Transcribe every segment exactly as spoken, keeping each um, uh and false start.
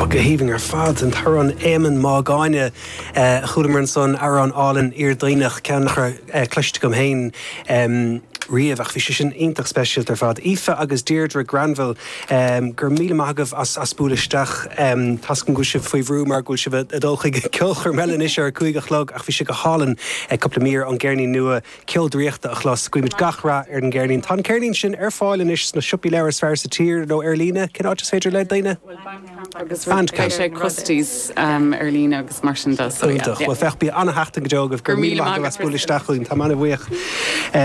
Go haoibhinn ar fad an t-amhrán Éamonn Mac Gáinne chualamar ansan amhrán álainn iarduinneach ceann nach raibh cloiste agam féin riamh ach bhí sé sin iontach speisialta ar fad. Aoife agus Deirdre Granville gur míle maith agaibh as as bualadh isteach tá go bhfuil sibh faoi bhrú mar go bhfuil sibh ag dul chuig ceolchoirm eile anois ar cúig a chlog ach bhí sé go hálainn cúpla mír ón gceirnín nua ceol draíochta a chlos guímid gach rath ar an gceirnín. Tá an ceirnín sin ar fáil anois sna siopaí leabhar is fearr sa tír nó ar líne cén áit is féidir le daoine? Agus sé Christies um, ar líne agus mar sin de Well féach bí an-seachtain go deo gur míle maith as bualadh isteach chugainn tá an-bhuíoch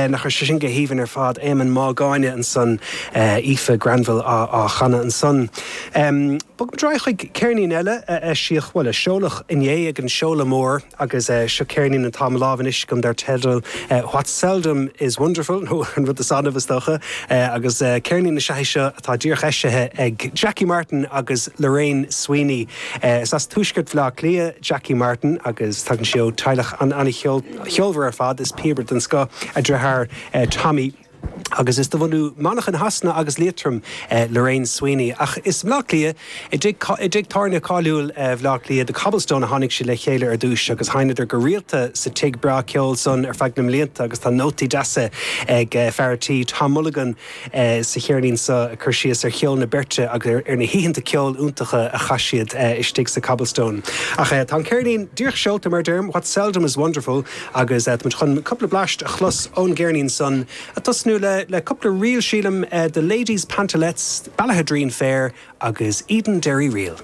nach sé sin go haoibhinn ar fad Éamonn Mac Gáinne ansan Aoife Granville á, á chanadh ansan. Um, Bogfaimid chuig ceirnín eile eisíodh bhuel a seoladh inné ag an seoladh mór agus uh, seo ceirnín atá i mo lámh anois agam dar teideal uh, What Seldom is Wonderful nó an rud is annamh is dócha uh, agus uh, ceirnín na sé seo atá díreach eisithe ag Jackie Martin agus Lorraine Sweeney. Uh, is as tuaisceart Bhaile Átha Cliath Jackie Martin agus tagann sí ó teaghlach an an-cheolmhar ar fad is píobaire den scoth a deartháir uh, Tommy. Agus is de bhunadh Manchain Shasana agus Liatroim eh, Lorraine Sweeney. Ach is Bleá Cliath i dtigh tábhairne cáiliúil eh, Bhleá Cliath The Cobblestone a tháinig siad le chéile ar dtús agus sheinneadar go rialta sa tigh breá ceoil san ar feadh na mblianta agus tá nótaí deasa ag eh, fear an tí Tom Mulligan eh, sa cheirnín seo cur síos ar cheol na beirte agus ar, ar na hoícheanta ceoil iontacha a chaith siad eh, istigh sa Cobblestone. Ach eh, tá an ceirnín díreach seolta mar deirim, What Seldom is Wonderful agus eh, chun cúpla blast a chlos ón gceirnín san a tosnú le le cúpla ríl sílim uh, The Ladies Pantalettes, Ballaghaderreen Fair agus Edenderry Reel.